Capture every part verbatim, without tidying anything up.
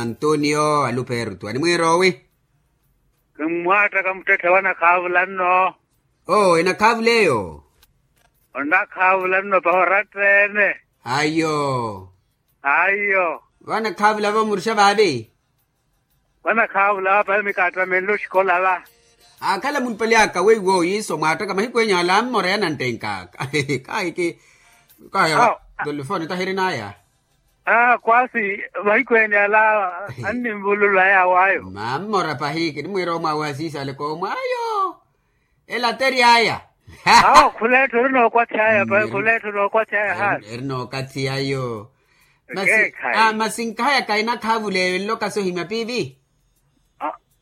Antonio alupertu animwiira owi. Kimmwaattaka muttetthe wanakhaavula nno. Oo enakhaavula eyo. Onakhaavula nno pahi oratta-ene. Ayo. Ayo. Vanakhaavula vamurixa vaavi. Vanakhaavula va pahi mikaattamenle oxikola va. Akhala munipali aka weiwo iso mwaattaka mahiku enyu ala ammora yananttenkaka. Kaahiki. Kaahiki. Tolifoni tahirinaya. Aa kwasi. Mahiku ene ala. Anninvululaya awayo. Mammora pahi kinimwiira omwaawe asiisale koomwe ayo. Elatery'aya. Awo khuleetto ori nookwath'aya pahi khuleetto nookwath'aya haani. Eri nookathiyayo. Masi nkahayaka enakhaavula eyo enloka sohimya piivi.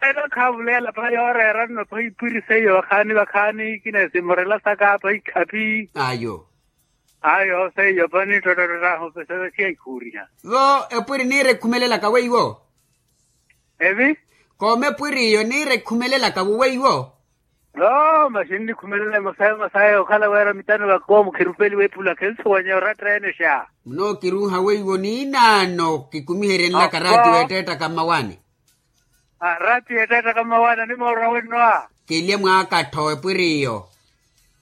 Enakhaavula ela pahi yooreera nno pahi ipwiri seiyo vakhaani vakhaani kinesimorela saka pahi khaphi. Ayo. Ayo seiyo pani ttottottottahu pesa vasiya ikhuuriha. Vo epwiri niira ekhumelelaka weiwo. Evi. Kooma epwiri iyo niira ekhumelelaka wuweiwo. Noo masi nnikhumelela emosa emosa eyo okhala wira mitano vakoomu khirupeliwa epula khinsuwanya oratta ene xa. Munookiruuha weiwo niinaano kikumiherye nlaka raatiyo etteettaka mmawaani. Raatiyo etteettaka mmawaani animoorwa wenno a. Kilye mwaakattho epwiri iyo.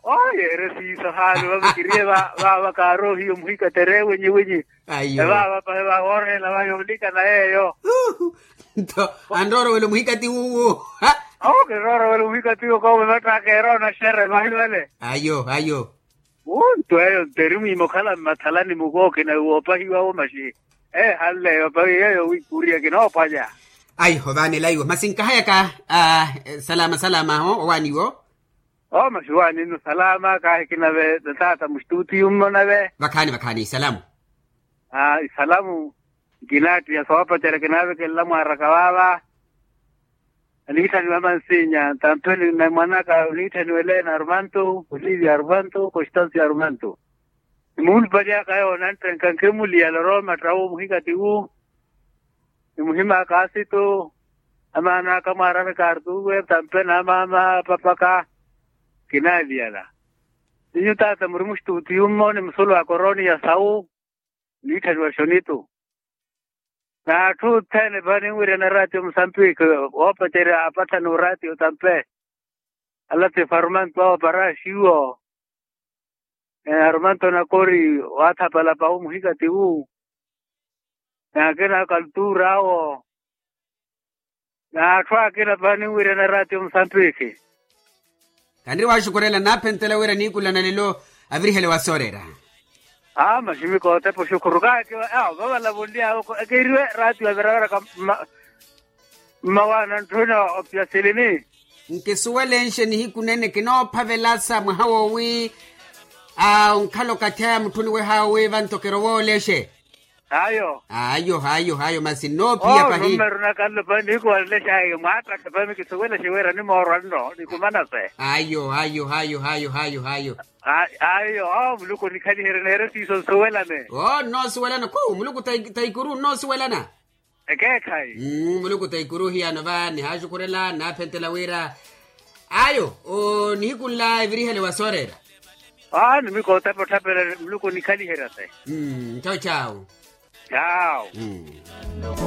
Oye ere siiso haani vava kiriye vava kaaroohiyo muhikatere wenyi wenyi. Ayo. Evava pahi vawooreela va yoolikana yeeyo. Nto anroorowela omuhikati wuwo. Awo kinroorowela omuhikati wuwo koovo vattaka eroona xere vahi vale. Ayo ayo. Wuntu eyo nto eri mwiima okhala mmathalani mukookina woopahiwawo maxi. Ehanle eyo pahi yeeyo wiikuriya kinoopwanya. Ayo vaanela iwo masi nkahayaka. Salama salama aho owaaniwo. Oo masi waani nno salama kaahiki nave taata muxituutiyu mmo nave. Vakhaani vakhaani isalamu. Isalamu. Nkinaattiya soopacerya kinaavekelela mwaaraka vaava. Aniitthaniwa mansinya ntampheni na mwan'aka oniitthaniwele na arumantu olivia arumantu constancio arumantu. Nimuhulupaliyaka yoona nttenka nkhimuliyala orooma ttawu muhikati wu. Nimuhimaka asitu. Amaana aka mwaarani kartuwe tampe na amaama papaka. Kinaaliyala. Ninyu taata muri muxituutiyu mmo ni musulu a koroniya sawu. Niitthaniwa xonitu. N'atthu othene pahi ninwiryana eraatiyo musampiki. Woopacerya apatthani oraatiyo tampe. Ala ti farumanto awo paraxiwo. Arumanto nakori. Waathapala pahu muhikati wu. N'akina akaltuura awo. N'atthu akina pahi ninwiryana eraatiyo musampiki. Kaniri waxukurela naaphentela wira niikulana lelo. Avirihele wa soorera. Aa maximiko otepa oxukuru kaaki. Vavala vonly'awe ekeeriwe eraatiyo aviraviraka. Mmawaana ntthuna opyasilini. Nkisuwelenxe nihiku nene kinoophavelasa mwaha woowi. Onkhala okathi aya mutthuni wehaawe vanto kirowa olexe. Ayo. Ayo ayo ayo masi nnoophiya pahi. Nummeru nakanlo pahi nihiku wanlexa ayo mwaattaka pahi mikisuwelexe wira nimoorwa nno nikumanase. Ayo ayo ayo ayo ayo ayo. Ayo oo muluku onikhaliherye neere siiso nsuwelane. Oo nnoosuwelana khu muluku taikuru nnoosuwelana. Ekeekhayi. Muluku taikuru hiyano va nihaaxukhurela nnaaphentela wira. Ayo. Nihiku nla evirihele wa sooreera. Aa nimiko otepa otthapela muluku onikhaliherya se. Ntho chawu. Chawu.